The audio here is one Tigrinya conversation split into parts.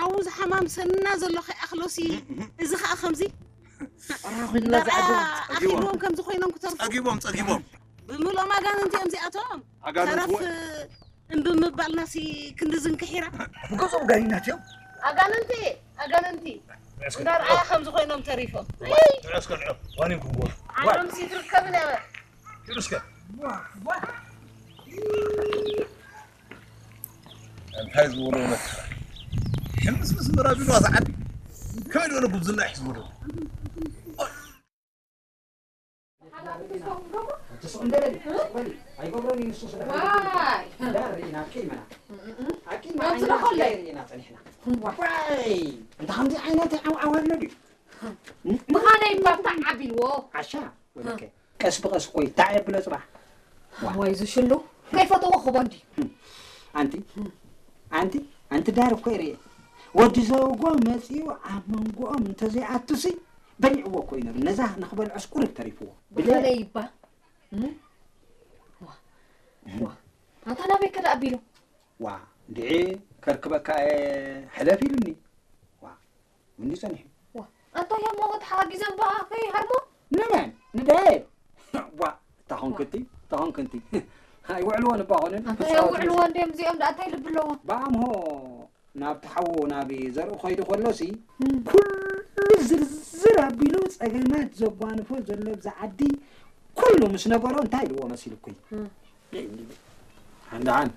ኣብኡ ዝሓማምሰና ዘሎ ከይኣኽሎሲ፣ እዚ ኸኣ ከምዚ ራኹላ እንዳርኣያ ዝዓዱ ኣኺልዎም ከምዚ ኮይኖም ክተርፉ። ጸጊቦም ጸጊቦም ብምልኦም ኣጋንንቲ እዮም እዚኣቶም። ኣጋንንቲ ተረፍ ወ- እምቢ ምባልናሲ ክንዲ ዝንክሒራ። ብገዝኦም ጋኒናት እዮም። ኣጋንንቲ ኣጋንንቲ እንዳርኣያ ከምዚ ኮይኖም ተሪፎም። ትዕስከ ንዑ ዋኒንኩም ጎ ዓለም ሲትርከብን ያበ ትዕስከ እንታይ ዝበሎ መከራ ሕምስምስ ምራቢሉ ኣዛ ዓዲ ከመይ ዝበለ ጉብዝና እዩ ዝበሎ ኣይገብረን እዩ ንሱ ስለ ዋይ ዳር ርኢና ኣቂመና ኣቂማ መምስሎ ዓይና ከለይ። ርኢና ጸኒሕና ዋይ እንተ ከምዚ ዓይነት ዓውዓው ኣሎ ድዩ ምኻነይ ባብታ ዓቢልዎ ዓሻ ወደከ ቀስ ብቐስ እኮ ይታዕ የብሎ ጽባሕ ወይ ዝሽሉ ከይፈተዎ ክቦ እንዲ ኣንቲ ኣንቲ ኣንቲ ዳር እኮ ይርኤ ወዲ ዘውጎ መጺኡ ኣብ መንጎኦም እንተዘይኣቱሲ በሊዕዎ እኮ እዩ ነሩ ነዛ ንኽበልዖስ ቁሩብ ተሪፍዎ ብለ ብኸለይ ይባ ኣንታ ናበይ ከዳ ኣቢሉ ዋ እንድዒ ከርክበካ እየ ሕለፍ ኢሉኒ ዋ ምኒ ጸኒሑ ኣንታ ያሞ ተሓጊዘን በኣ ከይሃርሞ ንመን ንደየ ዋ ታኾንክቲ ታኾንክንቲ ኣይውዕልዎን እባ ኾንን ኣንታ የውዕልዎ እንዲዮም እዚኦም ደኣ እንታይ ልቢ ኣለዎ ብኣምሆ ናብቲ ሓዉ ናብ ዘርኢ ከይዱ ከሎሲ ኩሉ ዝርዝር ኣቢሉ ጸገማት ዘጓንፎ ዘሎ ብዛ ዓዲ ኩሉ ምስ ነገሮ እንታይ ኢልዎ መሲልኩይ ሓንዳሓን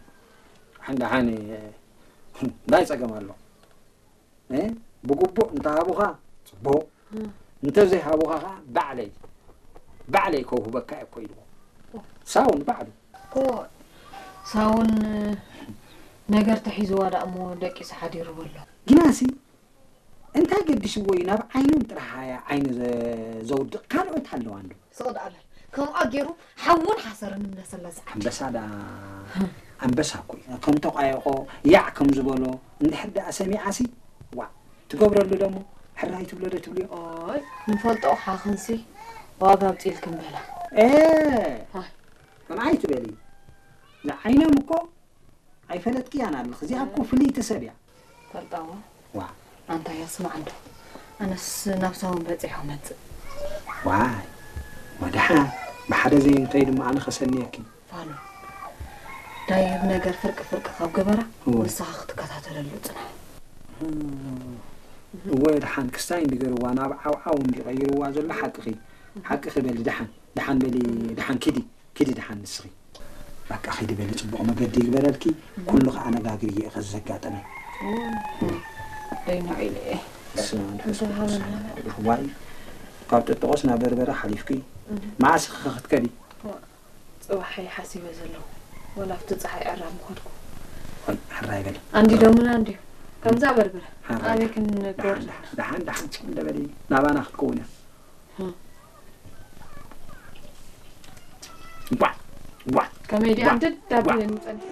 ሓንዳሓን እንታይ ጸገም ኣሎ እ? ብግቡእ እንተሃቡኻ ጽቡቕ እንተዘይሃቡኻ ከዓ ባዕለይ ባዕለይ ከውህበካ እየ እኮ ኢልዎ ሳውን ባዕሉ እኮ ሳውን ነገር ተሒዝዋ ደኣ እሞ ደቂሱ ሓዲሩ በሎ ግናሲ እንታይ ገዲሽዎ እዩ ናብ ዓይኖም ጥራሕ እያ ዓይኑ ዘ- ዘውድቕ ካልኦት ኣለዋ እንዶ ስቕ ደኣለ ከምኣ ገይሩ ሓውን ሓሰርን እምለሰላ ዝዓዲ ኣንበሳ ደኣ ኣንበሳ እኮ እዩ ከም ተቋየቆ ያዕ ከም ዝበሎ እንድሕር ደኣ ሰሚዓሲ ዋ ትገብረሉ ደሞ ሕራይ ትብሎ ዶ ትብልዮ ኦይ ንፈልጦ ሓኽንሲ ዋጋ ኣውፂልክን በላ እ ኣይ። ከምዓይ ትበሊ ዝዓይኖም እኮ ኣይፈለጥክያን ኣለኽ እዚኣ እኮ ፍልይቲ ሰብ እያ ፈልጣዎ ዋ ኣንታ ያስማዕ እንዶ ኣነስ ናብ ሳውን በፂሖ መፅእ ዋይ ወድሓን ብሓደ ዘይንተይ ድማ ኣነ ከሰንየኪ ፋኑ ዳይብ ነገር ፍርቂ ፍርቂ ካብ ገበራ እወ። ንስኻ ክትከታተለሉ ፅናሕ እወ ድሓን ክስታይ እንዲገርዋ ናብ ዓውዓው እንዲቀይርዋ ዘሎ ሓቅኺ ሓቅኺ በሊ ድሓን ድሓን በሊ ድሓን ኪዲ ኪዲ ድሓን ንስኺ በቃ ኪዲ በሊ ፅቡቕ መገዲ ይግበረልኪ ኩሉ ከዓ ነጋግር እየ ከዚ ዘጋጠመ ደይኖ ኢለ እየ ስመ መንፈስ ቅዱስ ዋይ ካብ ጥጥቆስ ናብ በርበረ ሓሊፍኪ መዓስ ኸ ክትከዲ ፅባሐ ሓሲበ ዘለኹ ወላ ኣብቲ ፀሓይ ዕራብ ምኸድኩ ሕራይ በሊ ኣንዲዶምና እንዲዩ ከምዛ በርበረ ሓራይ። ኣበይ ክንገብር ደሓን ደሓን ደሓን ደሓን ደሓን ደበሊ ናባና ክትከውን እያ ቧ ቧ ከመይ ዲኣ ዋ- እንድዳብ ዋ- ንፀንሕ